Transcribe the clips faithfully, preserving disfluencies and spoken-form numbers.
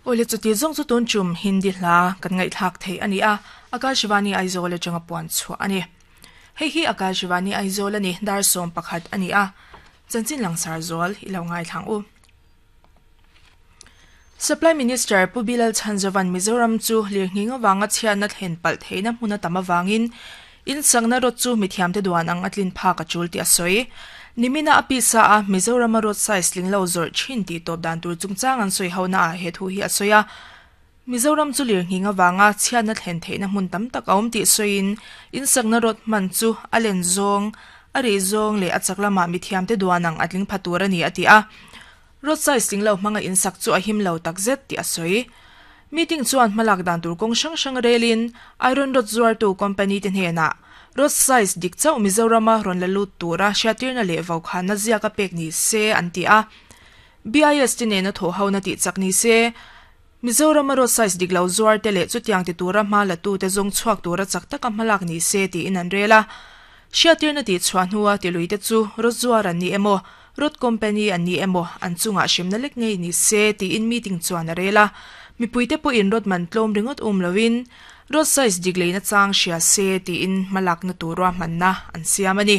Ole chuti zong chu tun chum Hindi hla kan ngai thak thei ani a Akashvani Aizawl atanga puan chu ani. Hei hi Akashvani Aizawl ani dar som pakhat ani a chanchin langsar zol ilo ngai thang u. Supply Minister Pu Bilal Chanzovan Mizoram chu lirnginga wanga chian na thlen pal theina hmuna tama wangin in sangna rot chu mithiam te duan ang atlin pha ka chul ti asoi. Nimina apisa a Mizoram road size linglo zor chin ti top dan tur chungchang an soi hona a he thu hi asoya. Mizoram chu lirnginga wanga chian na thlen theina hmun tam tak awm ti soin in sangna rot man chu alen zong ari zong le achaklama mithiam te duan ang atling phatur ani ati a. Road size linglo hmanga in sak chu a him lo takzet ti asoi. Meeting chuan hmalak dan tur kawng hrang hrang relin Iron Rod zuar tu company te hnena road size dik chauh Mizorama rawn la lut tura hriatirna leh vau khan na ziaka pek ni se an ti a. B I S te nena thaw ho na tih chak ni se Mizorama road size dik lo zuar te leh chutiang ti tura hma la tu te zawng chhuak tura chak taka hmalak ni se tiin an rel a. Hriatirna tih chhuah hnua ti lui te chu road zuar an ni emaw road company an ni emaw an chungah hrimna lek ngei ni se tiin meeting chuan a rel a. Mipuite pawh in road man tlawm ringawt um lovin road size dik leina chang hria se tiin hmalak na tura hmanna an siam ani.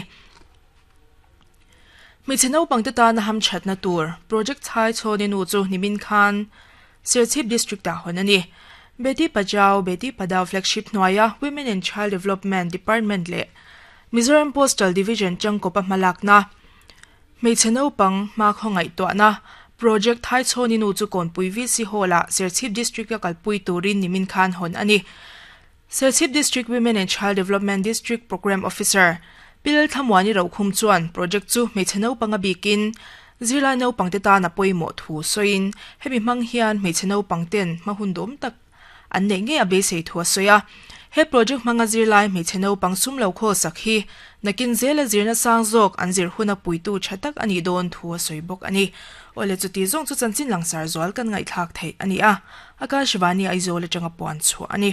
Hmeichhe naupang te tana ham thatna tur project chhai chhawni nu chu nimin khan Serchhip district ah hawn ani. Beti Bachao Beti Padhao flagship hnuaia Women and Child Development Department leh Mizoram Postal Division changkawpa hmalak na hmeichhe naupang hma khawngaih tuahna project thai chhawni nu chu kawnpui V C Hall ah Serchhip district a kalpui turin nimin khan hawn ani. Serchhip District Women and Child Development District Program Officer Pilal Thamwani Rokhum chuan project chu hmeichhe naupang a bikin zirlai naupang te tana pawimawh thu sawiin hemi hmang hian hmeichhe naupang ten hma hun dawm tak an neih ngei a beisei thu a sawi a. He project hmanga zirlai hmeichhe naupang sum lo khawl sak hi nakin zela zirna sang zawk an zir huna puitu tha tak ani dawn thu a sawi bawk ani. Ole chuti zawng chu chanchin langsar zual kan ngaihthlak thei ani a. Akashvani Aizawl atanga puan chu ani.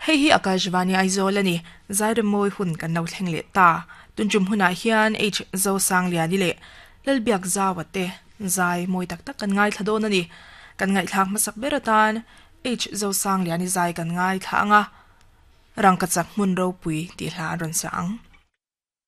Hei hi Akashvani Aizawl ani zairemawi hun kan lo thleng leh ta. Tunchum hunah hian H zo sang liani leh lalbiak zawa te zai mawi tak tak kan ngai thla dawn ani. Kan ngaihthlak hmasak ber atan H zo sang liani zai kan ngai thla anga rangkachak hmun ropui tih hla an rawn sa ang.